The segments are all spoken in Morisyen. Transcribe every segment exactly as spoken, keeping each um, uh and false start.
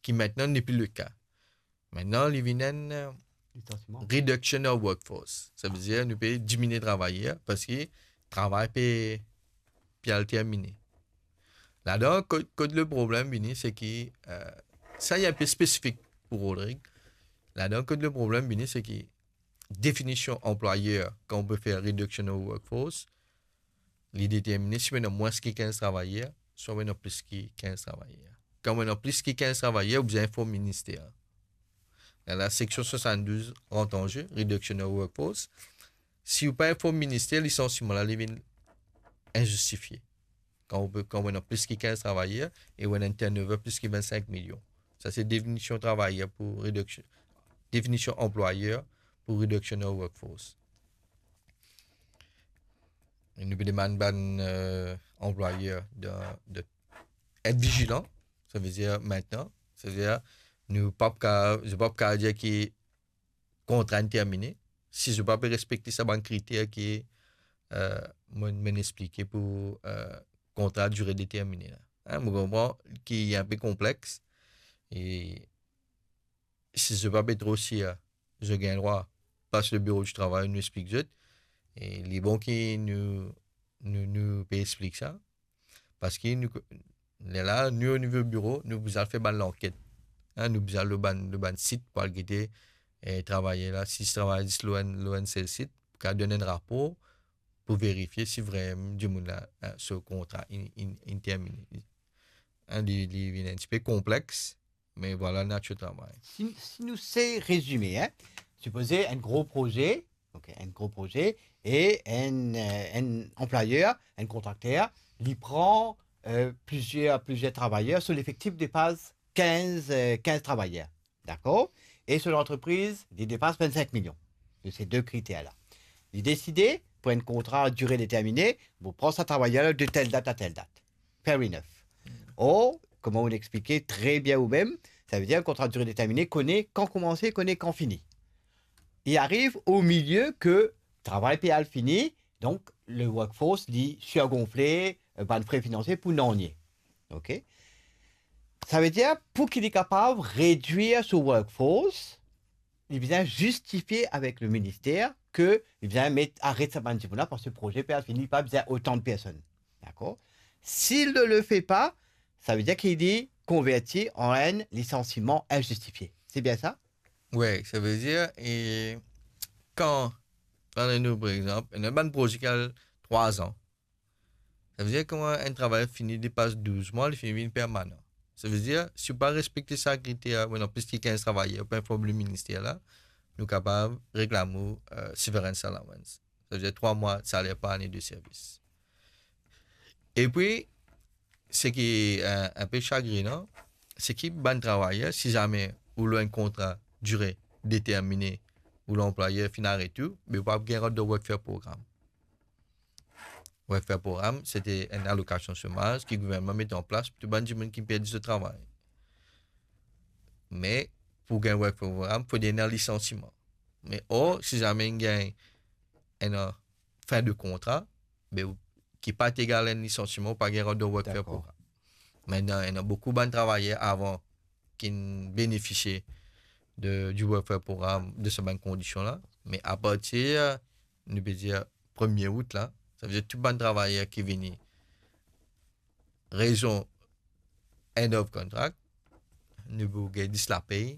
ki mintnan nepli leka. Mintnan, li vinn enn, eh, Lisansiman. Reduction of workforce. Savedir, nou pe diminie travayer parski travay pe, pe al termine. Ladan, kot, kot le problem vini, se ki, eh, sa, li inpe spesifik pou Rodrig. Ladan, kot le problem vini, se ki definision anplwayer, kan ou pe fer reduction of workforce, li determine si ou ena mwins ki kinz travayer, swa ou ena plis ki kinz travayer. Kan ou ena plis ki kinz travayer, ou bizin inform minister. La, la seksion swasanndouz rant an ze, reduction of workforce. Si ou pa inform minister, lisansiman la, li vinn inzistifie. Kan ou pe, kan ou ena plis ki kinz travayer e ou ena enn turnover plis ki vinn-sink milion. Sa se definision travayer pou reduction, definision anplwayer pou reduction of workforce. E nou pe demann bann, eh, anplwayer de, de et vizilan. Savedir mintnan, savedir nou pa pou ka, zot pa pou ka dir ki kontra inn termine, si zot pa pe respekte sa bann kriter ki, eh, mo, mo'nn explike pou, eh, kontra dire determine la. Hein, mo konpran ki inpe konplex, e si zot pa pe tro sir, zot gagn drwa pas le biro di travay, nou explik zot, e li bon ki nou, nou, nou pe explik sa. Parski nou, lerla, nou, o nivo biro, nou bizin al fer bann lanket. Hein, nou bizin al lor bann, lor bann sit pou al gete, eh, travayer la, si travay zis lor enn, lor enn sel sit, pou kapav donn enn rapor pou verifie si vremem dimoun la, hein, so kontra inn, inn, inn termine. Hein, li, li vinn enn tipe konplex, me vwala natir travay. Si, si nou se rezime, hein, sipoze enn gro proze, ok, enn gro proze, e enn, eh, enn anplwayer, enn kontrakter, li pran, eh, plizier, plizier travayer, so lefektif depas kinz, eh, kinz travayer. Dakor? E so lantrepriz, li depas vinn-sink milion. Se de kriter la. Li deside, pou enn kontra dire determine, pou pran sa travayer la de tel dat a tel dat. Fair enough. Or, kouma ou explike tre bien ou mem, savedir enn kontra dire determine, kone kan koumanse, kone kan fini. Li ariv o milie ke travay pe al fini, donk le workforce, li sirgonfle, eh, bann fre finansie pou nanye. Ok? Savedir, pou ki li kapav redwir so workforce, li bizin zistifie avek le minister ke li bizin met, aret sa bann dimoun la, parski proze pe al fini, li pa bizin otan de personn. Dakor? Si li le, le fait pas, savedir ki li konverti an enn lisansiman inzistifie. Se bien sa? Wi, savedir, e kan, kan nou, par exanp, ena bann proze ki al trwa an, savedir kouma enn travayer fini depas douz mwa, li fini vinn permanan. Savedir, si ou pa respekte sa kriter, ou ena plis ki kinz travayer, ou pa inform le minister la, nou kapav reklam ou, eh, severance allowance. Savedir trwa mwa saler par ane de servis. Epi, seki, eh, inpe sagrinan, seki bann travayer, si zame ou lor enn kontra dire determine, ou lanplwayer finn aret ou, be ou pa gagn rant dan welfare program. Welfare program, se te enn alokasion somaz ki gouvernman met an plas pou tou bann dimoun ki perdi so travay. Me pou gagn welfare program, fode ena lisansiman. Me or, si zame inn gagn enn, eh, fin de kontra, be ou, ki pa ti egal enn lisansiman, ou pa gagn rant dan welfare program. Dakor. Mintnan, ena boukou bann travayer avan ki'nn benefisie de, di welfare program, de sa bann kondision la. Me apartir, nou pe dir, premie out la, savedir tou bann travayer ki vini rezon end of contract, nou pou gagn zis lapey,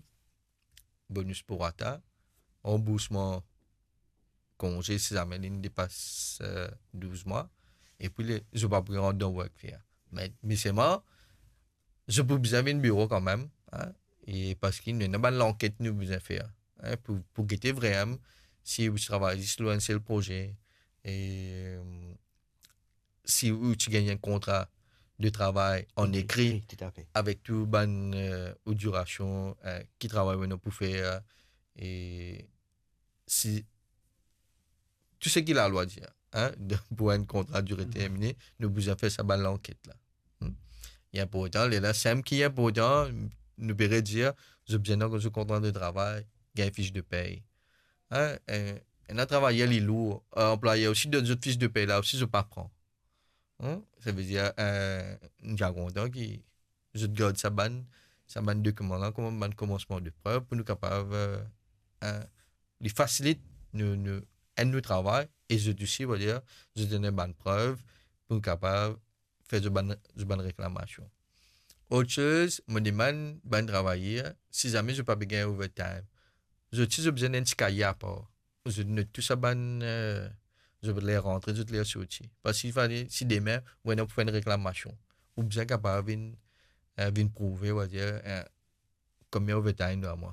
bonus prorata, ranboursman konze si zame linn depas, eh, douz mwa, epi le, zot pa pou rant dan welfare. Me, me selman, zot pou bizin vinn biro kanmem, hein, e parski nou ena bann lanket nou bizin fer, hein, pou, pou gete vremem si ou travay zis lor enn sel proze, e, si ou ti gagn enn kontra de travay an ekri, ekri, toutafe, avek tou bann, eh, ou dirasion, eh, ki travay ou ena pou fer, e si tou seki lalwa dir, hein, pou enn kontra dire determine, nou bizin fer sa bann lanket la. Hmm? Li inportan, lerla, seki inportan, nou pe redir, zot bizin dan zot kontra de travay, gagn fis de pey. Hein, eh, ena travayer li lour, eh, anplwayer osi donn zot fis de pey la osi, zot pa pran. Hmm? Savedir, eh, nou ti a kontan ki zot gard sa bann, sa bann dokiman la, kouma bann komansman de prev pou nou kapav, eh, eh, li fasilit nou, nou, enn nou travay, e zot osi, on va dir, zot donn bann prev pou nou kapav fer zot bann, zot bann reklamasion. Lot soz, mo demann bann travayer, si zame zot pa pe gagn overtime, zot osi zot bizin enn ti kaye apar. Zot not tou sa bann, eh, zot ler rantre, zot ler sorti. Parski fale, si demin, ou ena pou fer enn reklamasion, ou bizin kapav vinn, eh, vinn prouve, on va dir, eh, konbien overtime ou donn mwa.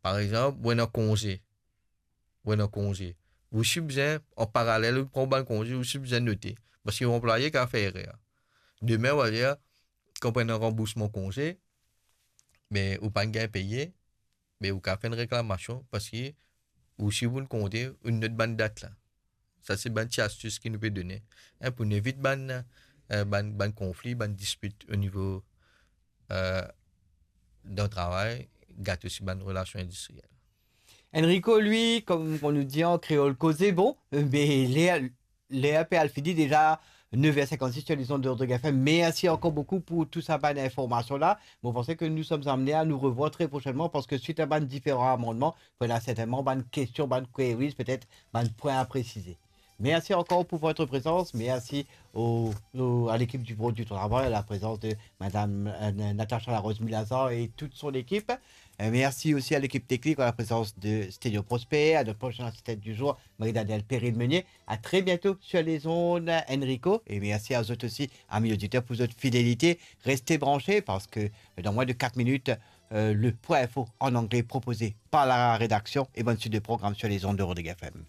Par exanp, ou ena konze, ou ena konze. Ou osi bizin, an paralel, ou pran bann konze, ou osi bizin note. Parski ou anplwaye kapav fer erer. Demin, on va dir, kan ou pran ranboursman konze, me ou pa gagn peye, me ou kapav fer enn reklamasion, parski ou osi ou pou konte, ou not bann dat la. Sa se bann ti astis ki nou pe done, eh, pou nou evit bann, eh, bann, bann konfli, bann dispit o nivo, eh, dan travay, gat osi bann relasion indistriel. Enrico, li, kouma nou dir an kreol, koze bon, me ler, ler pe al fini deza, nef er sinkannsis sur les ondes de Rodrigue F M. Mersi ankor boukou pou tou sa bann informasion la. Mo panse ke nou som amenn a nou revwar tre prosennman, parski swit a bann diferan amannman, pou ena sertennman bann kestion, bann queries, petet bann pwin a presize. Merci encore pour votre présence. Merci au, au, à l'équipe du Bureau du Travail, à la présence de Madame, euh, Natacha Larose Milazan et toute son équipe. Euh, merci aussi à l'équipe technique, à la présence de Sténio Prosper, à notre prochain assistant du jour, Marie-Danielle Perrine-Meunier. À très bientôt sur les ondes, Enrico. Et merci à vous aussi, amis auditeurs, pour votre fidélité. Restez branchés parce que, euh, dans moins de quatre minutes, euh, le point info en anglais proposé par la rédaction et bonne suite de programme sur les ondes de Rodrigue F M.